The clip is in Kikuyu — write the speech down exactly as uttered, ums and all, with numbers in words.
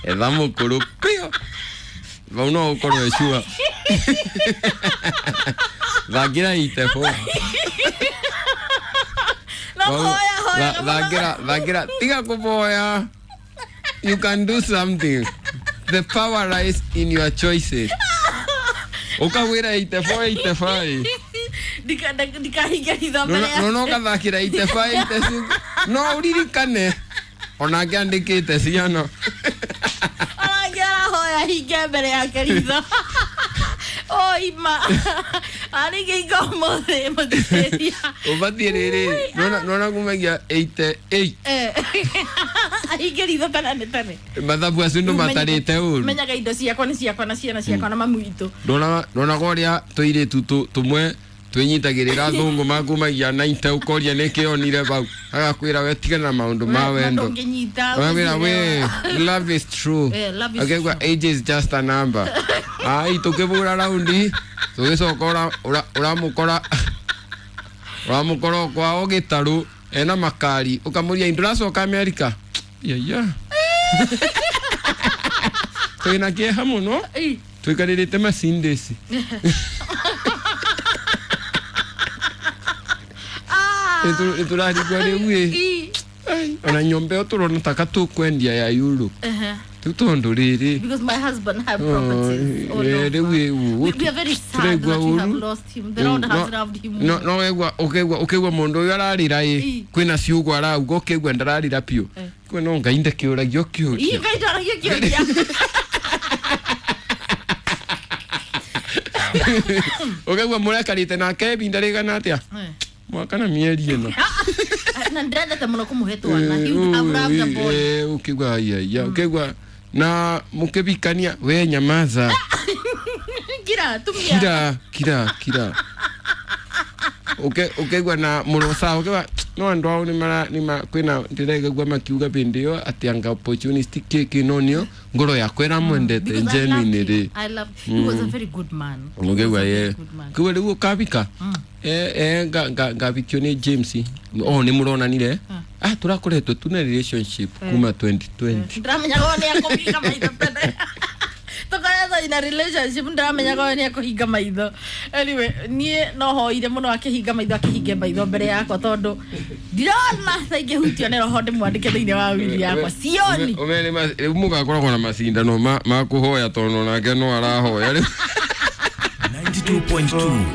Etha mũkũrũ pio vau no ũkorwo ecua thakĩra itebo. No hoya hoya. Thakĩra thakĩra tiga kũboya. You can do something. The power lies in your choices. Ukawĩra eighty-four eighty-five. Ndikahinga hitho mbere ya no no gathakĩra eighty-five eighty-six no ũririkane onake andĩkĩte ciana. Onake arahoya hinge mbere yake ritho. Oima arĩngĩ ũmũthĩ mũthikĩria ũbatiĩ rĩrĩ nona kumagia eighty-eight ahinge ritho tene nĩ tene. Mathabu acio ndũ matarĩte ũru. Menyaga indo ciakwa nĩ ciakwa na ciana ciakwa na mamu witũ. Ndona ũrĩa tũirĩtu tũmwe twinyitagirira thungu makumagia ninety ukoria niki onire vau agakwira we tigana na maundu ma wendo agakwira we love is true akegwa age is just a number. Ai tukibura raundi tugicoka uramukora uramukora kwao gitaru ena makari ukamuria nduracoka America yeah twina kieha muno twikarire macindeci. Iturarigwa riu ĩ ona nyũmba ĩyo tũrona taka tũkwendia ya Europe rĩu tondũ rĩrĩ because my husband had properties all over. Rĩu we are very sad that we have lost him. The Lord has loved him. No no wegwa ũkegwa ũkegwa mũndũ ũyũ ararĩra ĩ kwĩna ciugo arauga ũkegwa ndararĩra biũ kwĩ no Ngai ndakĩũragio kĩũria. Ngai ndaragio kĩũria. Ũkegwa mũrekarĩte nake ibinda rĩigana atĩa mwaka na mieri ĩno na ndĩrendete mũno kũmũhe twana. He would have loved a boy. Ukigwa ya ya ukigwa na mukibikania we nyamaza kira tumia kira kira kira uke ukigwa na murosa ukigwa no andu ao ni mara ni ma kwina ndiraigua makiuga bindi yo ati anga opportunity kiki nonio ngoro yakwa ĩramwendete genuinely ri. I love he was a very good man. Ukigwa ye kiwe riu ukabika eh eh nga nga ngabikio ni James oh ni muronanire ah turakoretwo tuna relationship kuma twenty twenty ndamenyaga ni akũhinga maitho tene tukoretwo in a relationship ndamenyaga ni akũhinga maitho. Anyway niĩ no hoire mũno akĩhinga maitho akĩhinge maitho mbere yakwa tondũ ndirona ta ingĩhutio nĩ roho ndĩmwandĩke thĩinĩ wa wili yakwa sioni. Ũmene rĩu mũgakoragwo na macindano ma ma kũhoya tondũ nake no arahoya rĩu. ninety-two point two.